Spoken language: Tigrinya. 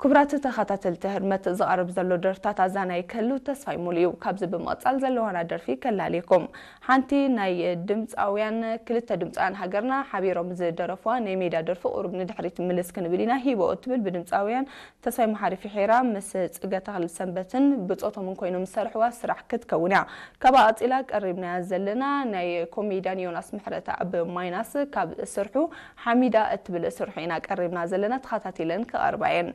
ክቡራት ተኸታተልቲ ህርመት፣ ዝቐርብ ዘሎ ደርፍታት ኣዛናይ ክህሉ ተስፋይ ሙሉ እዩ። ካብዚ ብምቕጻል ዘለዋና ደርፊ ከላልየኩም። ሓንቲ ናይ ድምጻውያን፣ ክልተ ድምጻውያን ሃገርና ሓቢሮም ዝደረፍዋ ናይ ሜዳ ደርፊ ቁሩብ ንድሕሪት ምልስ ክንብል ኢና። ሂቦ እትብል ብድምጻውያን ተስፋይ መሓሪ ፍሒራ ምስ ጽገ ተኽለ ሰንበትን ብጾቶምን ኮይኖም ዝሰርሕዋ ስራሕ ክትከውን እያ። ካብኣ ቀጺላ ቀሪብናያ ዘለና ናይ ኮሜድያን ዮናስ ምሕረተኣብ ማይናስ ካብ ስርሑ ሓሚዳ እትብል ስርሑ ኢና ቀሪብና ዘለና። ተኸታቲለን ክቐርባ እየን።